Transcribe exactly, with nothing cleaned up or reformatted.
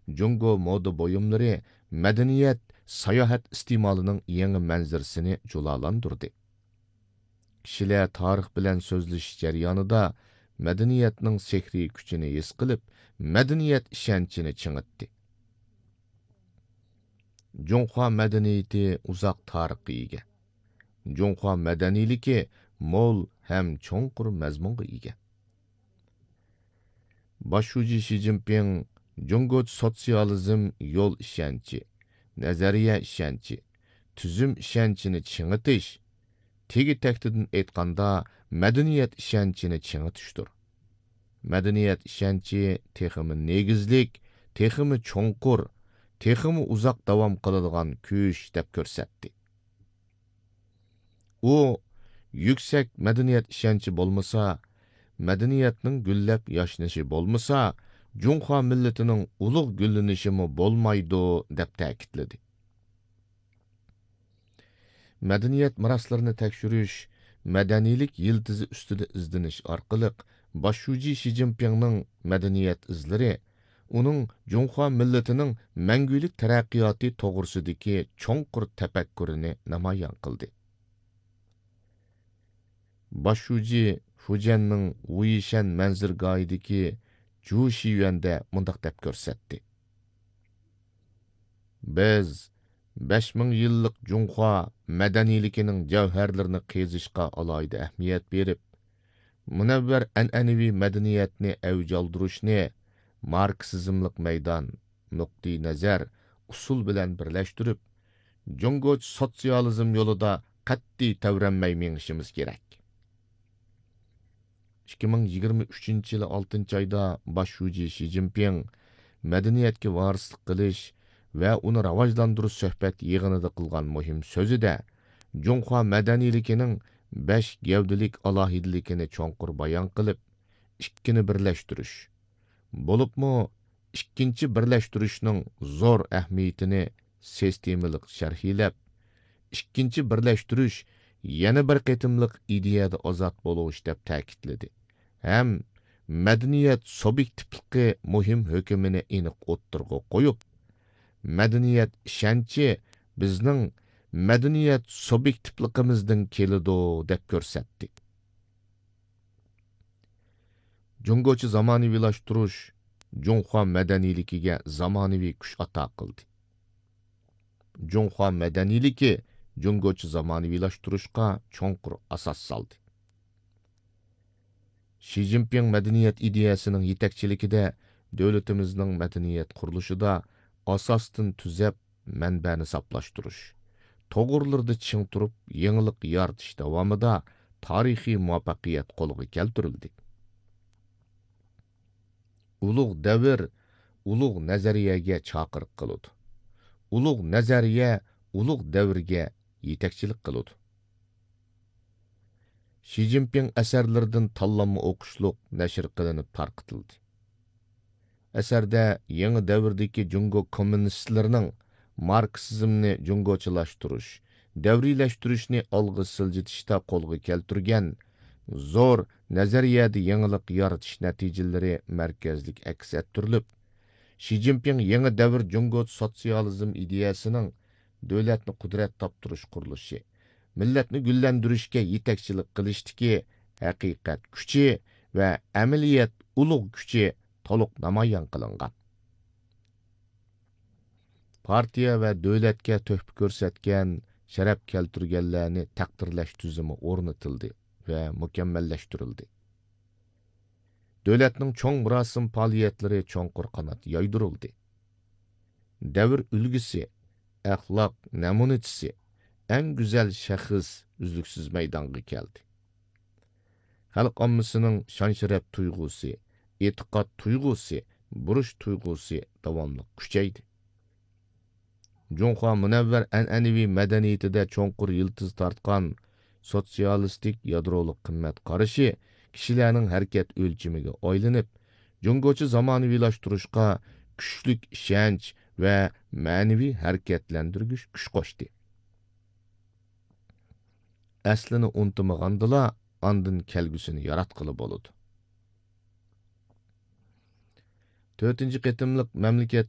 جۇڭگو مودا بۇيۇملىرى مەدەنىيەت، ساياھەت ئىستېمالىنىڭ يېڭى مەنزىرىسىنى جۇلالاندۇردى. كىشىلەر تارىخ بىلەن سۆزلىشىش جەريانىدا مەدەنىيەتنىڭ سېھرىي كۈچىنى ھېس قىلىپ، مەدەنىيەت ئىشەنچىنى چىڭىتتى. جۇڭخۇا مەدەنىيىتى ئۇزاق تارىخقا ئىگە. جۇڭخۇا مەدەنىيلىكى مول ھەم چوڭقۇر مەزمۇنغا ئىگە. باش شۇجى شى جىنپىڭ جۇڭگوچە سوتسىيالىزم يول ئىشەنچى، نەزەرىيە ئىشەنچى، تۈزۈم ئىشەنچىنى چىڭىتىش، تېگى تەكتىدىن ئېيتقاندا، مەدەنىيەت ئىشەنچىنى چىڭىتىشتۇر. مەدەنىيەت ئىشەنچى تېخىمۇ نېگىزلىك، تېخىمۇ چوڭقۇر، تېخىمۇ ئۇزاق داۋام قىلىدىغان كۈچ، دەپ كۆرسەتتى. ئۇ، يۈكسەك مەدەنىيەت ئىشەنچى بولمىسا، مەدەنىيەتنىڭ گۈللەپ ياشنىشى بولمىسا، جۇڭخۇا مىللىتىنىڭ ئۇلۇغ گۈللىنىشىمۇ بولمايدۇ، دەپ تەكىتلىدى. مەدەنىيەت مىراسلىرىنى تەكشۈرۈش، مەدەنىيلىك يىلتىزى ئۈستىدە ئىزدىنىش ئارقىلىق، باش شۇجى شى جىنپىڭنىڭ مەدەنىيەت ئىزلىرى ئۇنىڭ جۇڭخۇا مىللىتىنىڭ مەڭگۈلۈك تەرەققىياتى توغرىسىدىكى چوڭقۇر تەپەككۇرىنى نامايان قىلدى. باش شۇجى فۇجيەننىڭ ۋۇيىشەن مەنزىرىگاھىدىكى جۇ شىيۈەندە مۇنداق دەپ كۆرسەتتى: بىز بەش مىڭ يىللىق جۇڭخۇا مەدەنىيلىكىنىڭ جەۋھەرلىرىنى قېزىشقا ئالاھىدە ئەھمىيەت بېرىپ، مۇنەۋۋەر ئەنئەنىۋى مەدەنىيەتنى ئەۋج ئالدۇرۇشنى ماركسىزملىق مەيدان، نۇقتىئىنەزەر، ئۇسۇل بىلەن بىرلەشتۈرۈپ، جۇڭگوچە سوتسىيالىزم يولىدا قەتئىي تەۋرەنمەي مېڭىشىمىز كېرەك. ئىككى مىڭ يىگىرمە ئۈچىنچى يىلى ئالتىنچى ئايدا باش شۇجى شى جىنپىڭ مەدەنىيەتكە ۋارىسلىق قىلىش ۋە ئۇنى راۋاجلاندۇرۇش سۆھبەت يىغىنىدا قىلغان مۇھىم سۆزىدە، جۇڭخۇا مەدەنىيلىكىنىڭ بەش گەۋدىلىك ئالاھىدىلىكىنى چوڭقۇر بايان قىلىپ، ئىككىنى بىرلەشتۈرۈش، بولۇپمۇ ئىككىنچى بىرلەشتۈرۈشنىڭ زور ئەھمىيىتىنى سىستېمىلىق شەرھلەپ، ئىككىنچى بىرلەشتۈرۈش يەنە بىر قېتىملىق ئىدىيەدە ئازاد بولۇش، دەپ تەكىتلىدى ھەم مەدەنىيەت سۇبيېكتىپلىقى مۇھىم ھۆكۈمىنى ئېنىق ئوتتۇرىغا قويۇپ، مەدەنىيەت ئىشەنچى بىزنىڭ مەدەنىيەت سۇبيېكتىپلىقىمىزدىن كېلىدۇ، دەپ كۆرسەتتى. جۇڭگوچە زامانىۋىلاشتۇرۇش جۇڭخۇا مەدەنىيلىكىگە زامانىۋى كۈچ ئاتا قىلدى. جۇڭخۇا مەدەنىيلىكى جۇڭگوچە زامانىۋىلاشتۇرۇشقا چوڭقۇر ئاساس سالدى. شى جىنپىڭ مەدەنىيەت ئىدىيەسىنىڭ يېتەكچىلىكىدە دۆلىتىمىزنىڭ مەدەنىيەت قۇرۇلۇشىدا ئاساستىن تۈزەپ، مەنبەنى ساپلاشتۇرۇش، توغرىلىرىدا چىڭ تۇرۇپ، يېڭىلىق يارىتىش داۋامىدا تارىخىي مۇۋەپپەقىيەت قولغا كەلتۈرۈلدى. ئۇلۇغ دەۋر ئۇلۇغ نەزەرىيەگە چاقىرىق قىلىدۇ. ئۇلۇغ نەزەرىيە ئۇلۇغ دەۋرگە يېتەكچىلىك قىلىدۇ. شى جىنپىڭ ئەسەرلىرىدىن تاللانما ئوقۇشلۇق نەشر قىلىنىپ تارقىتىلدى. ئەسەردە يېڭى دەۋردىكى جۇڭگو كوممۇنىستلىرىنىڭ ماركسىزمنى جۇڭگوچىلاشتۇرۇش، دەۋرىيلەشتۈرۈشنى ئالغا سىلجىتىشتا قولغا كەلتۈرگەن زور نەزەرىيەدە يېڭىلىق يارىتىش نەتىجىلىرى مەركەزلىك ئەكس ئەتتۈرۈلۈپ، شى جىنپىڭ يېڭى دەۋر جۇڭگو سوتسىيالىزم ئىدىيەسىنىڭ دۆلەتنى قۇدرەت تاپتۇرۇش قۇرۇلۇشى، مىللەتنى گۈللەندۈرۈشكە يېتەكچىلىك قىلىشتىكى ھەقىقەت كۈچى ۋە ئەمەلىيەت ئۇلۇغ كۈچى تولۇق نامايان قىلىنغان. پارتىيە ۋە دۆلەتكە تۆھپە كۆرسەتكەن، شەرەپ كەلتۈرگەنلەرنى تەقدىرلەش تۈزۈمى ئورنىتىلدى ۋە مۇكەممەللەشتۈرۈلدى. دۆلەتنىڭ چوڭ مۇراسىم پائالىيەتلىرى چوڭقۇر قانات يايدۇرۇلدى. دەۋر ئۈلگىسى، ئەخلاق نەمۇنىچىسى، ئەڭ گۈزەل شەخس ئۈزلۈكسىز مەيدانغا كەلدى. خەلق ئاممىسىنىڭ شان-شەرەپ تۇيغۇسى، ئېتىقاد تۇيغۇسى، بۇرچ تۇيغۇسى داۋاملىق كۈچەيدى. جۇڭخۇا مۇنەۋۋەر ئەنئەنىۋى مەدەنىيىتىدە چوڭقۇر يىلتىز تارتقان سوتسىيالىستىك يادرولۇق قىممەت قارىشى كىشىلەرنىڭ ھەرىكەت ئۆلچىمىگە ئايلىنىپ، جۇڭگوچە زامانىۋىلاشتۇرۇشقا كۈچلۈك ئىشەنچ ۋە مەنىۋى ھەرىكەتلەندۈرگۈچ كۈچ قوشتى. ئەسلىنى ئۇنتۇمىغاندىلا، ئاندىن كەلگۈسىنى ياراتقىلى بولىدۇ. تۆتىنچى قېتىملىق مەملىكەت